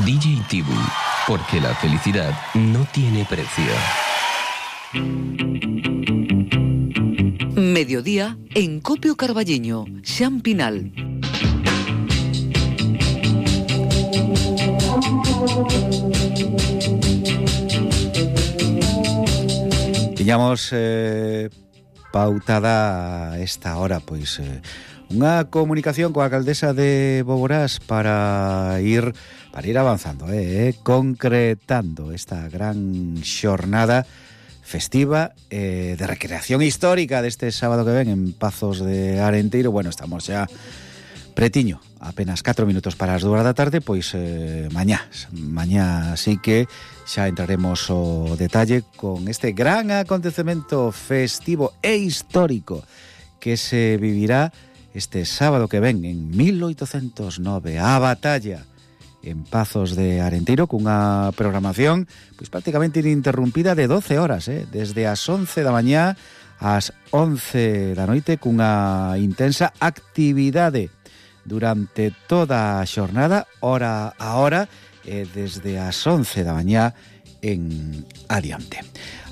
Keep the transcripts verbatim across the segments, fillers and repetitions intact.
D J Tibu, porque la felicidad no tiene precio. Mediodía en Copio Carballiño, Xan Pinal. Tiñamos eh, pautada a esta hora, pois, eh, unha comunicación coa alcaldesa de Boborás para ir para ir avanzando, eh, eh, concretando esta gran xornada festiva eh, de recreación histórica deste sábado que ven en Pazos de Arenteiro. Bueno, estamos xa pretiño, apenas catro minutos para as dúas da tarde, pois eh, mañá, mañá sí que xa entraremos o detalle con este gran acontecemento festivo e histórico que se vivirá este sábado que ven en mil oitocentos nove, a batalla en Pazos de Arenteiro, cunha programación pois prácticamente ininterrumpida de doce horas, eh? desde as once da mañá ás once da noite, cunha intensa actividade durante toda a xornada, hora a hora, eh, desde as once da mañá en adiante.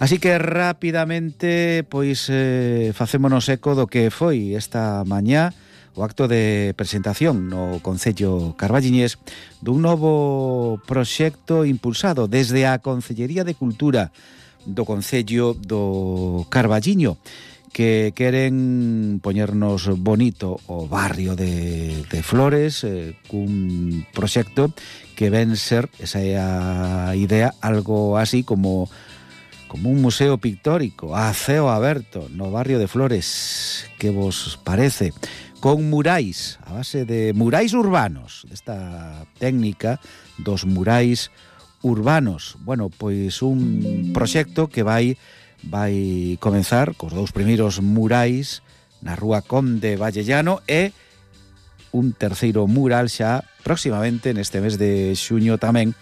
Así que rapidamente pois eh, facémonos eco do que foi esta mañá o acto de presentación no Concello Carballiñés dun novo proxecto impulsado desde a Concellería de Cultura do Concello do Carballiño, que queren poñernos bonito o barrio de, de Flores, eh, cun proxecto que ven ser, esa é a idea, algo así como como un museo pictórico a ceo aberto no barrio de Flores. Que vos parece? Con murais, a base de murais urbanos, esta técnica dos murais urbanos. Bueno, pois un proxecto que vai vai comenzar cos dous primeiros murais na Rúa Conde Vallellano e un terceiro mural xa próximamente neste mes de xuño tamén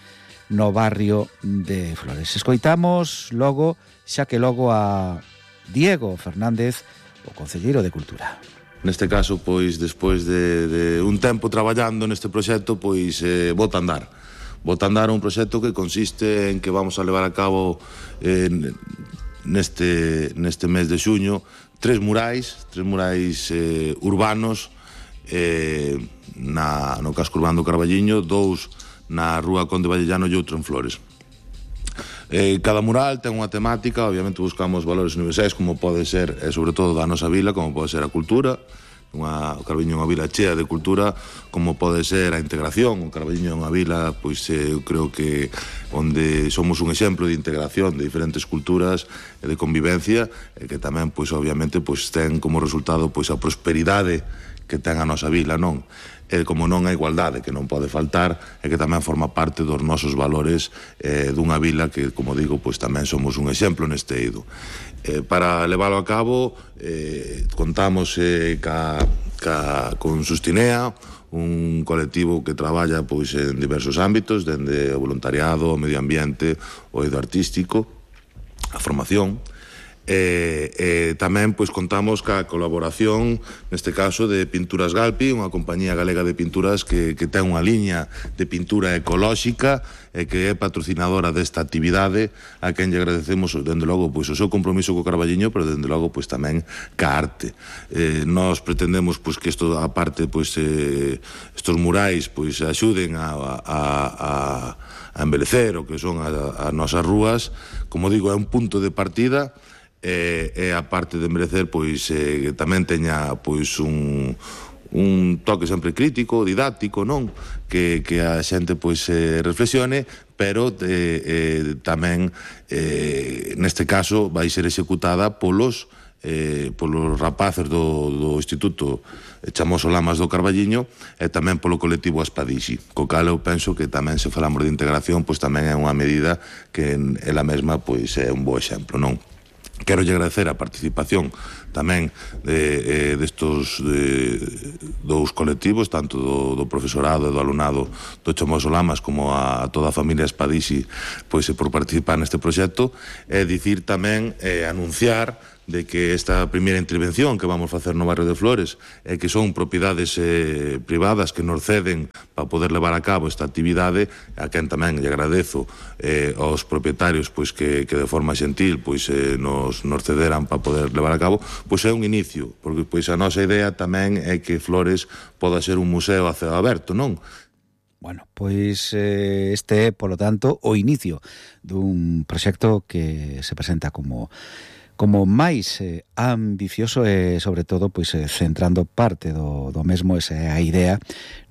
no barrio de Flores. Escoitamos logo, xa que logo, a Diego Fernández, o concelleiro de Cultura. Neste caso, pois, despois de, de un tempo traballando neste proxecto, pois, eh, bota a andar. Bota a andar un proxecto que consiste en que vamos a levar a cabo eh, neste, neste mes de xuño tres murais, tres murais eh, urbanos eh, na, no casco urbano do Carballiño, dous na Rúa Conde Vallellano e outro en Flores. Eh, cada mural ten unha temática, obviamente buscamos valores universais como pode ser, e sobre todo da nosa vila, como pode ser a cultura. Unha, o Carballiño é unha vila chea de cultura, como pode ser a integración. O Carballiño é unha vila, pois eh, eu creo que onde somos un exemplo de integración de diferentes culturas e de convivencia, e que tamén, pois obviamente, pois ten como resultado pois a prosperidade que ten a nosa vila, non? E como non a igualdade, que non pode faltar, e que tamén forma parte dos nosos valores eh, dunha vila que, como digo, pois tamén somos un exemplo neste eido. Eh, para leválo a cabo, eh, contamos eh, ca, ca, con Sustinea, un colectivo que traballa pois en diversos ámbitos, dende o voluntariado, o medio ambiente, o eido artístico, a formación. E, e tamén pois contamos ca colaboración neste caso de Pinturas Galpi, unha compañía galega de pinturas que, que ten unha liña de pintura ecolóxica e que é patrocinadora desta actividade, a quen lle agradecemos dende logo pois o seu compromiso co Carballiño, pero dende logo pois tamén ca arte. Eh, nós pretendemos pois que isto aparte pois eh, estos murais pois axuden a, a, a, a embelecer o que son as nosas rúas. Como digo, é un punto de partida. E, e a parte de merecer pois eh, tamén teña pois un, un toque sempre crítico, didáctico, non? Que, que a xente pois eh, reflexione, pero eh, eh, tamén eh, neste caso vai ser executada polos eh, polos rapaces do, do Instituto Chamoso Lamas do Carballiño e tamén polo colectivo Aspadixi, co cal eu penso que tamén, se falamos de integración, pois tamén é unha medida que ela mesma pois é un bo exemplo, non? Quero lle agradecer a participación tamén de, eh, destos de, dous colectivos, tanto do, do profesorado e do alumnado do Chamoso Lamas como a, a toda a familia Espadixi, pois por participar neste proxecto, e dicir tamén, eh, anunciar de que esta primeira intervención que vamos facer no barrio de Flores é que son propiedades eh, privadas que nos ceden para poder levar a cabo esta actividade, a quen tamén lle agradezo eh, aos propietarios pois que, que de forma xentil pois eh, nos, nos cederan para poder levar a cabo, pois é un inicio, porque pois a nosa idea tamén é que Flores poda ser un museo a ceo aberto, non? Bueno, pois eh, este é, polo tanto, o inicio dun proxecto que se presenta como como máis eh, ambicioso e, sobre todo, pois eh, centrando parte do, do mesmo, esa é a idea,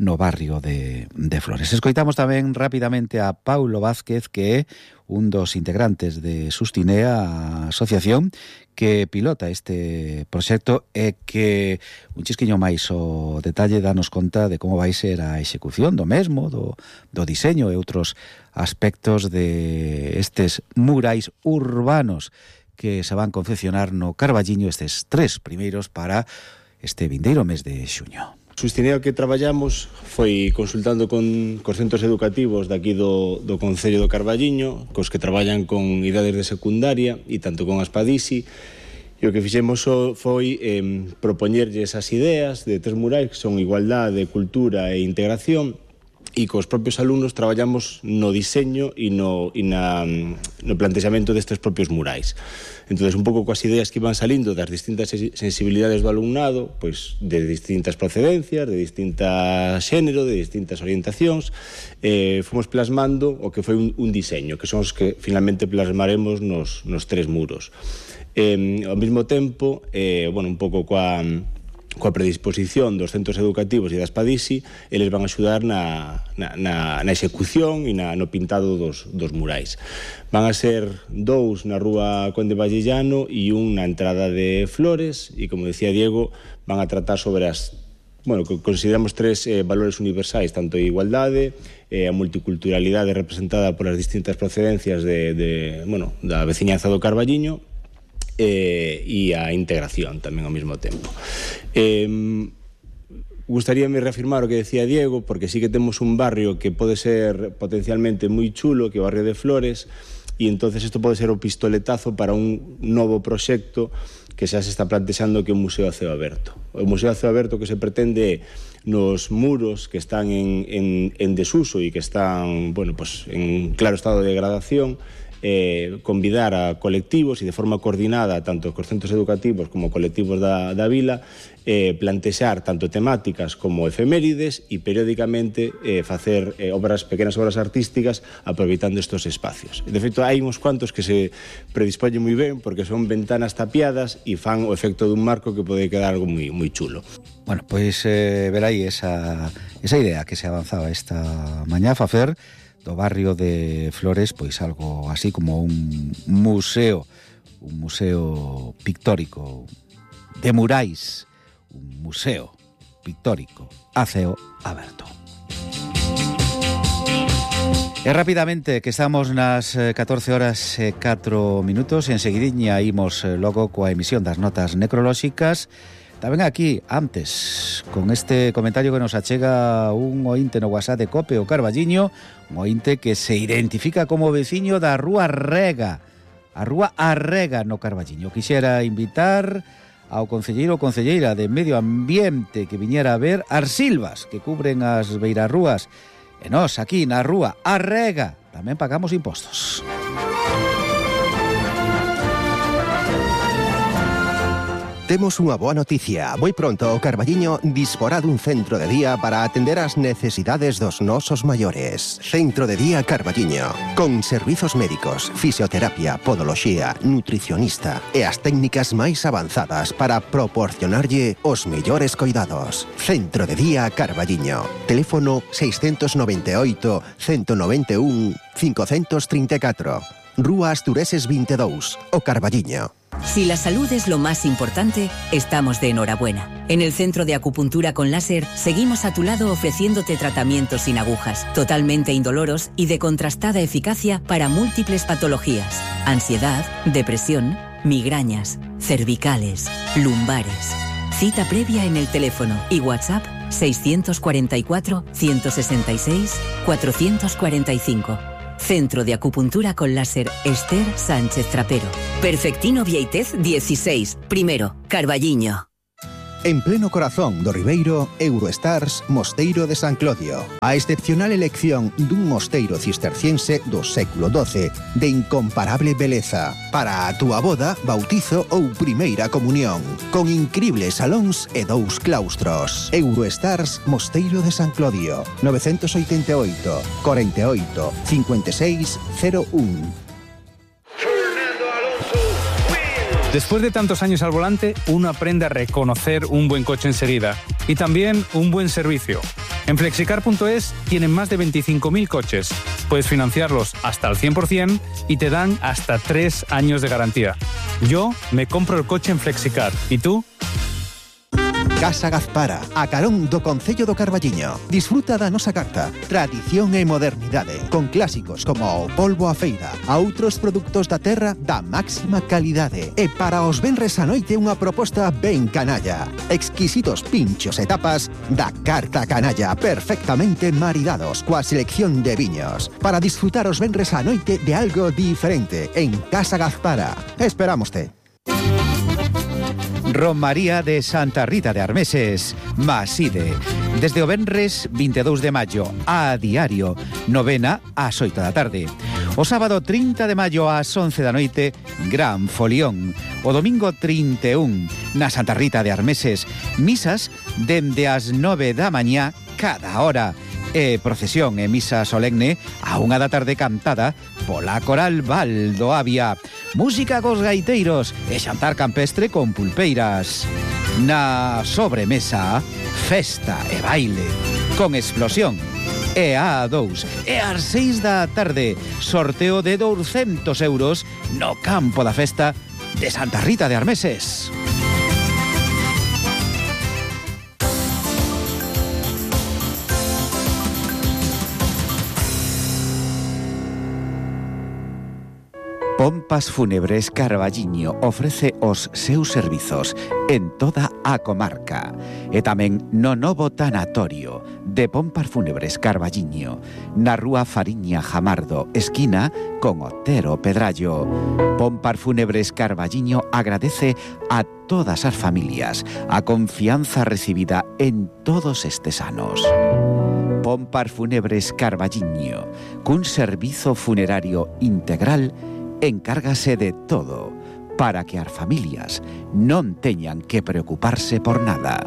no barrio de, de Flores. Escoitamos tamén rapidamente a Paulo Vázquez, que é un dos integrantes de Sustinea, a asociación que pilota este proxecto e que un chisquiño máis o detalle danos conta de como vai ser a execución do mesmo, do, do diseño e outros aspectos de estes murais urbanos que se van confeccionar no Carballiño, estes tres primeiros para este vindeiro mes de xuño. Sustinea que traballamos foi consultando con cos centros educativos daqui do, do Concello do Carballiño, cos que traballan con idades de secundaria e tanto con Aspadisi, e o que fixemos foi eh, propoñerlle esas ideas de tres murais que son igualdade, cultura e integración, e cos propios alumnos traballamos no diseño e no, e na, no plantexamento destes propios murais. Entón, un pouco coas ideas que iban salindo das distintas sensibilidades do alumnado, pois de distintas procedencias, de distintas xénero, de distintas orientacións, eh, fomos plasmando o que foi un, un diseño, que son os que finalmente plasmaremos nos, nos tres muros. Eh, ao mesmo tempo, eh, bueno, un pouco coa... coa predisposición dos centros educativos e das Padisi, eles van a axudar na, na, na, na execución e na, no pintado dos, dos murais. Van a ser dous na rúa Conde Vallellano e un na entrada de Flores, e como decía Diego, van a tratar sobre as, bueno, consideramos tres eh, valores universais, tanto a igualdade, eh, a multiculturalidade representada polas distintas procedencias de, de, bueno, da veciñanza do Carballiño, Eh, e a integración tamén ao mesmo tempo. Eh, gustaríame reafirmar o que decía Diego, porque sí que temos un barrio que pode ser potencialmente moi chulo, que é o barrio de Flores, e entonces isto pode ser o pistoletazo para un novo proxecto que xa se está plantexando, que é un museo a ceo aberto. O museo a ceo aberto que se pretende nos muros que están en, en, en desuso e que están, bueno, pues, en claro estado de degradación, Eh, convidar a colectivos e de forma coordinada tanto cos centros educativos como colectivos da, da vila, eh, plantexar tanto temáticas como efemérides e periódicamente eh, facer eh, obras, pequenas obras artísticas aproveitando estos espacios. De feito, hai uns cuantos que se predispoñen moi ben porque son ventanas tapiadas e fan o efecto dun marco que pode quedar algo moi, moi chulo. Bueno, pois eh, ver aí esa, esa idea que se avanzaba esta mañá a facer do barrio de Flores, pois algo así como un museo, un museo pictórico de murais, un museo pictórico a ceo aberto. E rapidamente, que estamos nas catorce horas e catro minutos, enseguidiña imos logo coa emisión das notas necrolóxicas. Tamén aquí, antes, con este comentario que nos achega un ointe no WhatsApp de Cope o Carballiño, un ointe que se identifica como veciño da Rúa Rega, a Rúa Arrega no Carballiño. Quixera invitar ao concelleiro ou concelleira de Medio Ambiente que viñera a ver as silvas que cubren as beirarrúas. E nós, aquí na Rúa Arrega, tamén pagamos impostos. Temos unha boa noticia. Moi pronto o Carballiño disporá dun centro de día para atender as necesidades dos nosos maiores. Centro de día Carballiño, con servizos médicos, fisioterapia, podoloxía, nutricionista e as técnicas máis avanzadas para proporcionarlle os mellores coidados. Centro de día Carballiño. Teléfono seiscentos noventa e oito, ciento noventa e un, quinhentos trinta e catro. Rúa Astureses vinte e dous, o Carballiño. Si la salud es lo más importante, estamos de enhorabuena. En el Centro de Acupuntura con Láser seguimos a tu lado ofreciéndote tratamientos sin agujas, totalmente indoloros y de contrastada eficacia para múltiples patologías: ansiedad, depresión, migrañas, cervicales, lumbares. Cita previa en el teléfono y WhatsApp seiscientos cuarenta y cuatro, ciento sesenta y seis, cuatrocientos cuarenta y cinco. Centro de Acupuntura con Láser Esther Sánchez Trapero. Perfectino Vieitez dieciséis. Primero, Carballiño. En pleno corazón do Ribeiro, Eurostars Mosteiro de San Clodio. A excepcional elección dun mosteiro cisterciense do século doce, de incomparable beleza, para a túa boda, bautizo ou primeira comunión, con incribles salóns e dous claustros. Eurostars Mosteiro de San Clodio, novecientos oitenta e oito, cuarenta e oito, cincuenta e seis, cero un. Después de tantos años al volante, uno aprende a reconocer un buen coche enseguida y también un buen servicio. En flexicar punto es tienen más de veinticinco mil coches. Puedes financiarlos hasta al cien por ciento y te dan hasta tres años de garantía. Yo me compro el coche en Flexicar. ¿Y tú? Casa Gazpara, a carón do Concello do Carballiño. Disfruta da nosa carta, tradición e modernidade, con clásicos como o polvo a feira, a outros produtos da terra da máxima calidade. E para os venres a noite unha proposta ben canalla. Exquisitos pinchos e tapas da carta canalla, perfectamente maridados coa selección de viños. Para disfrutar os venres a noite de algo diferente en Casa Gazpara. Esperámoste. Romaría de Santa Rita de Armeses, Maside. Desde o venres vinte e dous de maio a diario, novena ás oito da tarde. O sábado trinta de maio ás once da noite, gran folión. O domingo trinta e un na Santa Rita de Armeses, misas dende as nove da mañá cada hora. E procesión e misa solemne a unha da tarde cantada pola Coral Val do Avia. Música cos gaiteiros e xantar campestre con pulpeiras. Na sobremesa, festa e baile con explosión. E a dous, e ás seis da tarde, sorteo de douscentos euros no campo da festa de Santa Rita de Armeses. Pompas Fúnebres Carballiño ofrece os seus servizos en toda a comarca e tamén no novo tanatorio de Pompas Fúnebres Carballiño na rúa Fariña Jamardo, esquina con Otero Pedrallo. Pompas Fúnebres Carballiño agradece a todas as familias a confianza recibida en todos estes anos. Pompas Fúnebres Carballiño, cun servizo funerario integral, encárgase de todo para que as familias non teñan que preocuparse por nada.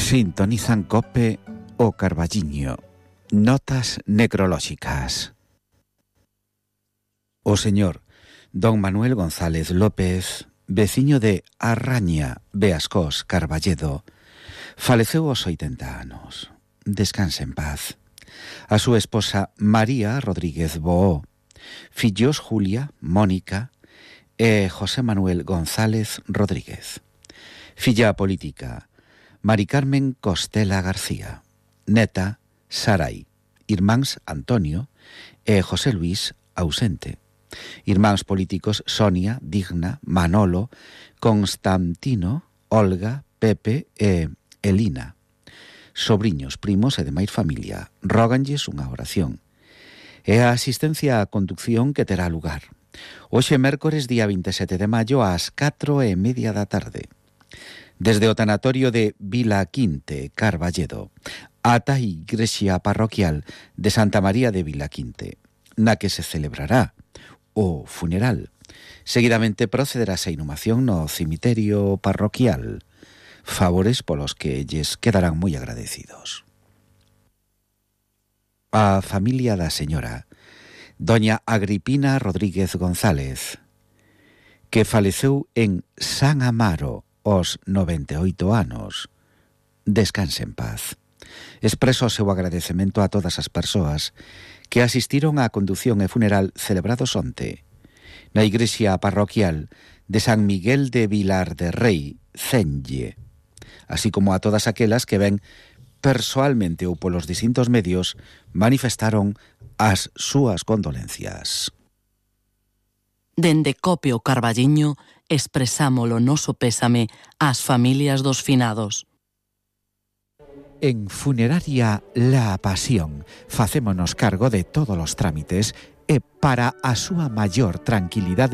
Sintonizan COPE o Carballiño. Notas necrolóxicas. O señor don Manuel González López, veciño de Arraña, Beascós, Carballedo, faleceu aos oitenta anos. Descanse en paz. A súa esposa María Rodríguez Boó, fillos Julia, Mónica e José Manuel González Rodríguez. Filla política, Mari Carmen Costela García. Neta, Sarai. Irmáns Antonio e José Luis, ausente. Irmáns políticos Sonia, Digna, Manolo, Constantino, Olga, Pepe e Elina. Sobriños, primos e demais familia, róganlles unha oración. E a asistencia á conducción que terá lugar hoxe mércores día vinte e sete de maio ás catro e media da tarde. Desde o tanatorio de Vila Quinte, Carballedo, ata a igrexa parroquial de Santa María de Vila Quinte, na que se celebrará o funeral. Seguidamente procederase a inhumación no cemiterio parroquial, favores polos que lles quedarán moi agradecidos. A familia da señora doña Agripina Rodríguez González, que faleceu en San Amaro aos noventa e oito anos, descanse en paz. Expreso o seu agradecemento a todas as persoas que asistiron á condución e funeral celebrados onte na igrexa parroquial de San Miguel de Vilar de Rei, Cenlle, así como a todas aquelas que ven persoalmente ou polos distintos medios manifestaron as súas condolencias. Dende Copio Carballiño expresamos o noso pésame ás familias dos finados. En Funeraria La Pasión facémonos cargo de todos os trámites e para a súa maior tranquilidade